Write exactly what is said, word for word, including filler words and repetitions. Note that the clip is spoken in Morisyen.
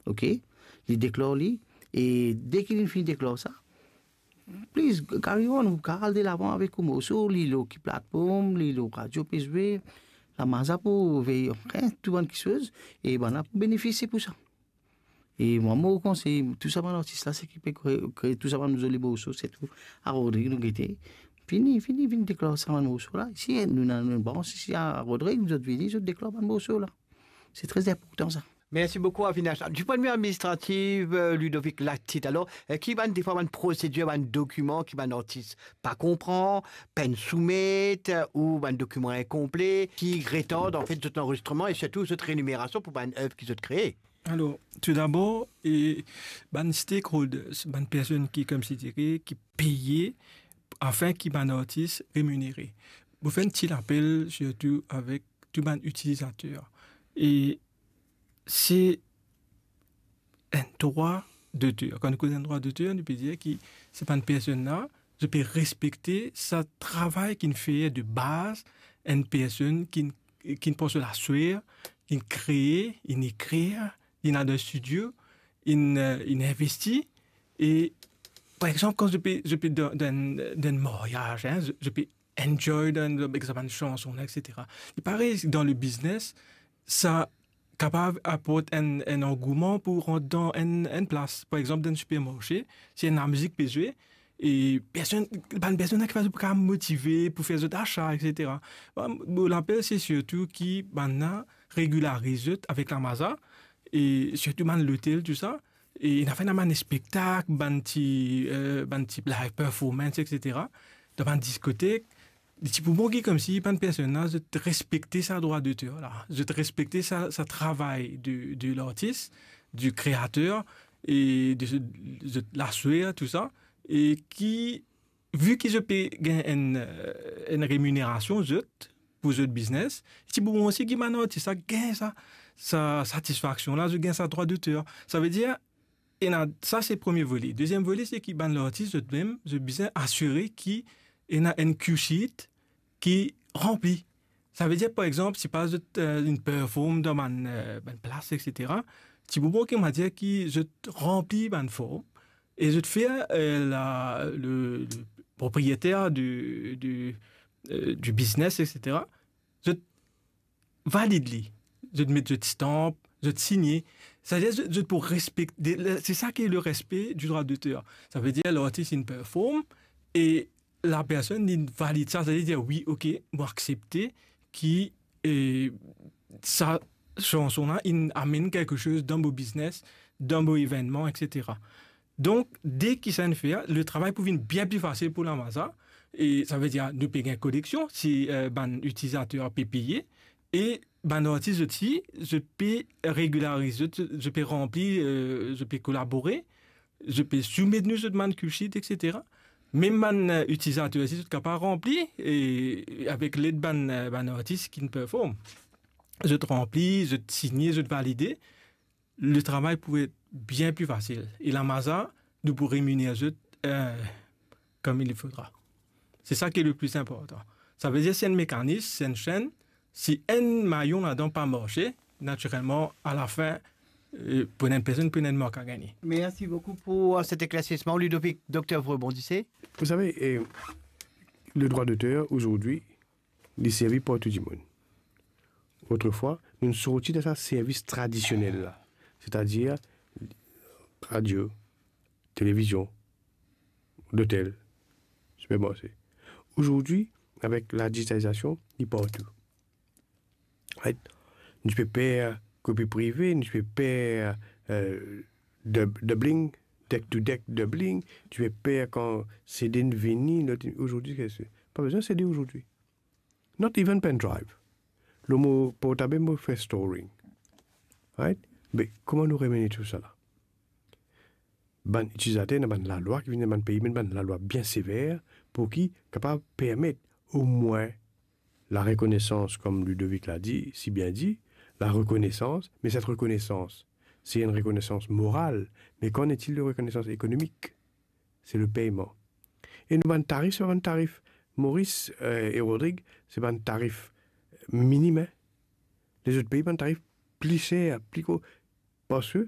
ok? Li deklar li, e deki li finn deklar sa, please, carry on, ou kapav al delavan avek ou morso, li lor ki platform, li lor radio pe zwe, Lamaza pou vey, hein, tou bann kiksoz, e bann la pou benefisie pou sa. E mwa, mo konsey tou sa bann artis la, seki pe kre-, kree tou sa bann zoli morso, sirtou a Rodrig nou gete. Fini, fini, vinn deklar sa bann morso la. Isi, nou, nou, nou, bon, si, si a Rodrig, zot vini, zot deklar bann morso la. Se tre inportan sa. Mersi boukou, Avinash. Di pwin de vi administratif, eh, Ludovic Latit, alor, eh, ki bann, defwa, bann prosedir, bann dokiman ki bann artis pa konpran, pa'nn soumet, eh, ou bann dokiman inkonple, ki retard, anfet, zot lanrezistreman e sirtou zot reminerasion pou bann ev ki zot kree? Alor, toudabor, e, bann stakeholders, bann personn ki, koumsi dire, ki peye afin ki bann artis reminere. Mo fer enn ti lapel, sirtou avek tou bann itilizater. E se enn drwa doter. Kan nou koz enn drwa doter, nou pe dir ki se bann personn la, zot pe respekte sa travay ki'nn fer de baz enn personn ki'nn, ki'nn pran so laswer, ki'nn kree, inn ekrir, inn al dan studio, inn, eh, inn investi. E, par exanp, kan zot pe, zot pe dan, dan, dan enn maryaz, hein, zot, zot pe enjoy dan, dan, ek sa bann sanson la, et cetera. E parey, dan le biznes, sa kapav aport enn, enn angouman pou rant dan enn, enn plas. Par exanp, dan enn sipermarse, si enn lamizik pe zwe, e personn, bann personn la ki pa pou kapav motive pou fer zot asa, et cetera. Bon, mo lapel, se sirtou ki bann la regilariz zot avek Lamaza, e sirtou bann lotel, tou sa, e ena fer bann spektak, bann ti, eh, bann ti live performance, et cetera. Dan bann diskotek, li ti pou bon ki koumsi bann personn la, zot respekte sa drwa doter la, zot respekte sa, sa travay de, de lartis, du kreater, e de zot, zot laswer, tou sa, e ki, vi ki zot pe gagn enn, eh, enn reminerasion, zot, pou zot biznes, ti pou bon osi ki bann artis la gagn sa, sa satisfaksion la, zot gagn sa drwa doter. Savedir, ena, sa se premie vole. Deziem vole, se ki bann lartis zot mem, zot bizin asire ki ena enn cue sheet ki ranpli. Savedir, par exanp, si pa zot, eh, inn perform dan bann, eh, bann plas, et cetera, ti pou bon ki, on va dire, ki zot ranpli bann form, e zot fer, eh, la, le, le propriyeter de, de, eh, du biznes, et cetera, zot valid li. Zot met zot stamp, zot signe. Savedir zot, zot pou respekte, de, le, se sa ki le respe du drwa doter. Savedir lartis inn perform e lapersonn inn valid sa, savedir, wi, ok, mo aksepte ki, eh, sa sanson la inn amenn kiksoz dan mo biznes, dan mo evennman, et cetera. Donk, deki sa inn fer, le travay pou vinn bien pli fasil pou Lamaza, e savedir, nou pe gagn koleksion, si, eh, bann itilizater pe peye, e bann artis osi, zot pe regilariz, zot, zot pe ranpli, eh, zot pe kolabore, zot pe soumet nou zot bann cue sheet, et cetera. Mem bann, eh, itilizater osi, zot kapav ranpli, e avek led bann, eh, bann artis ki'nn perform. Zot ranpli, zot signe, zot valide. Le travay pou et bien pli fasil. E Lamaza, nou pou reminer zot, eh, comme il faudra. Se sa ki le pli inportan. Savedir, se enn mekanis, se enn senn. Si enn mayon ladan pa marse, natirelman, alafin, eh, pou enn personn, pou enn mark a gagne. Merci beaucoup pour, euh, cet éclaircissement. Ludovic, docteur, vous rebondissez? Vous savez, eh, le droit d'auteur, aujourd'hui, li servi partou dimoun. Otrefwa, nou sorti dan sa servis tradisionel la, setadir radio, televizion, lotel, sipermarse. Azordi, avek ladigitalizasion, li partou. Right? Nou ti pe per kopi prive, nou ti pe per, eh, dub-, doubling, deck to deck doubling, nou ti pe per kan CD inn vini, lot, azordi, se, pa bizin CD azordi. Not even pen drive. Lor mo portab mo fer storing. Right? Me kouma nou remene tou sa la? Bann itilizater, ena bann lalwa ki vinn, bann pei, bann lalwa bien sever pou ki kapav permet omwin larekonesans, kom Ludovic la di, si bien di, larekonesans, me set rekonesans, se enn rekonesans moral, me qu'en est-il de rekonesans ekonomik? Se le peyman. E nou bann tarif, se pa bann tarif Moris, eh, e Rodrig, se bann tarif minim, hein. Lezot pei, bann tarif pli ser, pli gro, parski